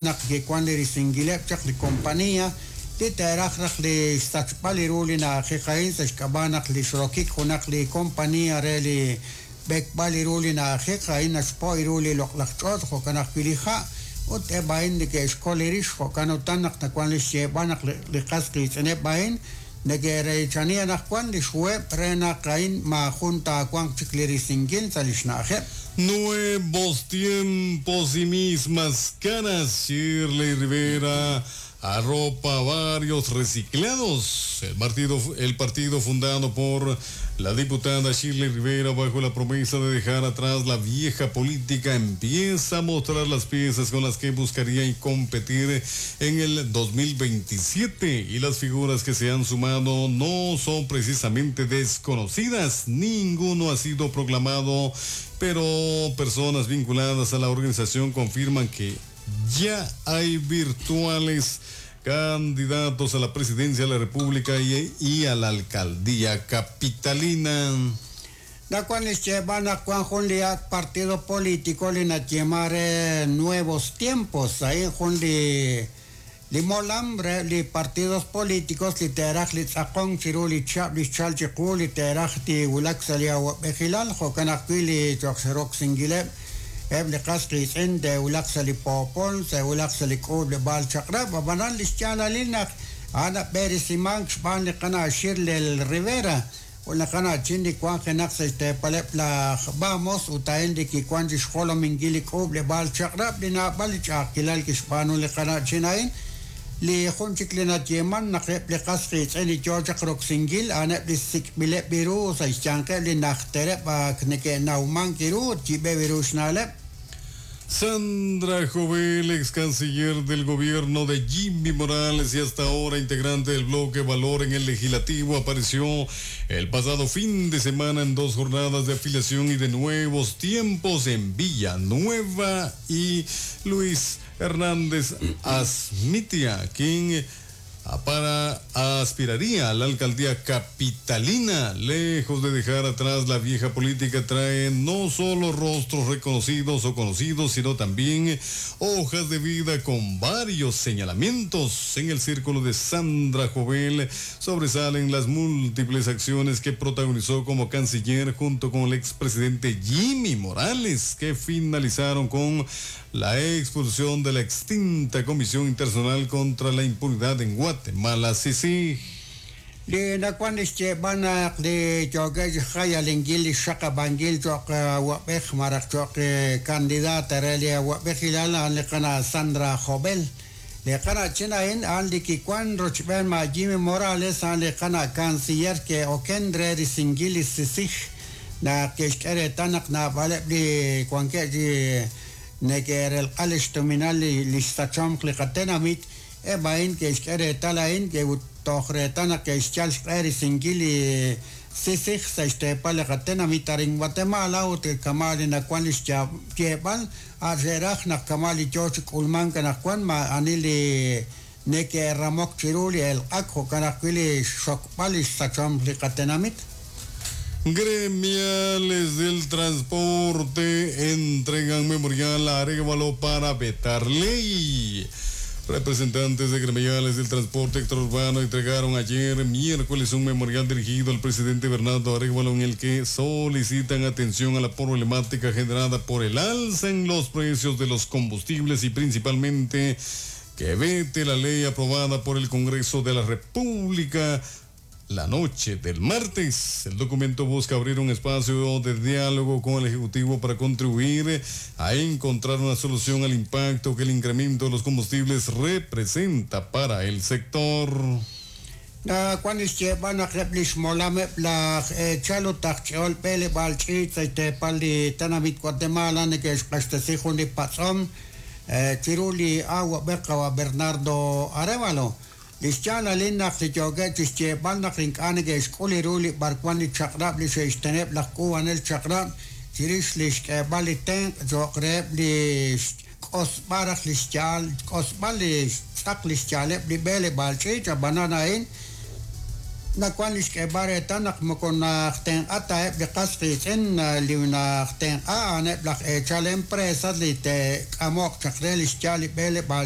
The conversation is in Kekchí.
Naq kiwan li risinkileb' chaq li kompaniiy li te'raj raj li xsachb'al li ru li na'ajej a'in sa' xk'ab'a' naq li xrokik junaq li kompaniiy re li b'ekb'al li ru li na'ajej a'in naxpo' ru li loq'laj ch'och' jo'kan ajwi' li ha' ut eb' a'in neke'xkol li rix jo'kan utan naq nawan li xyeeb'al naq li qas qiitz'ineb' a'in neke'reechani anaqwan li xhuheb' re naq a'in maajun taawanq chik li risinkil sa' li xna'ajeb'. Nuevos tiempos y mismas caras, Shirley Rivera arropa varios reciclados. El partido fundado por la diputada Shirley Rivera bajo la promesa de dejar atrás la vieja política empieza a mostrar las piezas con las que buscaría competir en el 2027 y las figuras que se han sumado no son precisamente desconocidas. Ninguno ha sido proclamado, pero personas vinculadas a la organización confirman que ya hay virtuales candidatos a la presidencia de la República y a la alcaldía capitalina. Nawan li xyeeb'al naq wan jun li ak' partido político li nayeeman re Nuevos Tiempos, a'in jun li li molam re li partidos políticos li te'raj li tz'aqonk chiru li chihab' li xchal chiqu li te'raj tiwulak sa' li awab'ejilal jo'kan ajwi' li cho'q roksinkileb' eb' li qas qiitz'in te'wulaq sa' li poopol te'wulaq sa' li k'uub'leb'aal chaq'rab' ab'anan li xyaalalil naq a'an nab'eresimank xb'aan li qana' Shirley Rivera ut li qana'chin li wanjenaq sa' xteepaleb' laj Vamos ut a'in li kiwan chi xjolominkil li k'uub'leb'aal chaq'rab' li naab'al li ch'a'ajkilal kixb'aanu li qana'chin a'in li jun chik li nayeeman naq eb' li qas qiitz'in li yoo chaq roksinkil a'aneb' li sik'b'ileb' ru sa' xyanqeb' li najtereb' ak neke'nawmank ru ut yib'eb' ru xna'leb'. Sandra Jovel, ex canciller del gobierno de Jimmy Morales y hasta ahora integrante del bloque Valor en el Legislativo, apareció el pasado fin de semana en dos jornadas de afiliación y de nuevos tiempos en Villanueva y Luis Hernández Azmitia, quien para aspiraría a la alcaldía capitalina, lejos de dejar atrás la vieja política, trae no solo rostros reconocidos o conocidos, sino también hojas de vida con varios señalamientos. En el círculo de Sandra Jovel sobresalen las múltiples acciones que protagonizó como canciller junto con el expresidente Jimmy Morales, que finalizaron con la expulsión de la extinta Comisión Internacional contra la Impunidad en Guatemala, CICIG. Li nawan li xyeeb'al naq li yookeb' xjayalinkil li xxaqab'ankil cho'q awab'ej malaj cho'q candidata re li awab'ejilal a'an li qana' Sandra Jovel. Li qana'chin a'in a'an li kiwan rochb'een ma' Jimmy Morales a'an li qana' canciller ke'oken re risinkil li CICIG naq ke'xk'e reetal naq naab'aleb' li wankeb' chi neke'relq'a li xtuminal li xsachomq li qatenamit eb' a'in ke'xk'e reetal a'in toj reetal naq ke'xyal xq'e risinkil li CICIG sa' xteepal li qatenamit arin Guatemala ut kama' li nawan li xyeeb'al a' xe'raj naq kama' li yoo chi k'ulmank anaqwan ma'ani li neke'ramok chiru li elq'ak jo'kan ajwi' li xxokb'al li xsachomq li qatenamit. Gremiales del transporte entregan memorial a Arévalo para vetar ley. Representantes de gremiales del transporte extraurbano entregaron ayer miércoles un memorial dirigido al presidente Bernardo Arévalo en el que solicitan atención a la problemática generada por el alza en los precios de los combustibles y principalmente que vete la ley aprobada por el Congreso de la República la noche del martes. El documento busca abrir un espacio de diálogo con el Ejecutivo para contribuir a encontrar una solución al impacto que el incremento de los combustibles representa para el sector. Nawan li xyeeb'al naq eb' li xmolameb' laj eechal ut aj ch'ol b'eleb'aal ch'iich' sa' xteepal li tenamit Guatemala neke'xq'axtesi jun li patz'om chiru li awab'ej qawa' Bernardo Arévalo. Li xyaalalil naq li yookeb' chi xyeeb'al naq ink'a' neke'xk'ul ru li b'arwan li chaq'rab' li xe'xteneb' laj k'uub'anel chaq'rab' chirix li xk'eeb'al li tenq' cho'q reheb' li xk'osb'al raj li xyaal xk'osb'al li xtz'aq li xyaaleb' li b'eleb'aal ch'iich' ab'anan a'in nawan li xk'eeb'al reetal naq moko najtenq'a ta eb' li qas qiitz'in li najtenq'a a'aneb' laj eechal empresas li te'k'amoq chaq re li xyaal li b'eleb'aal.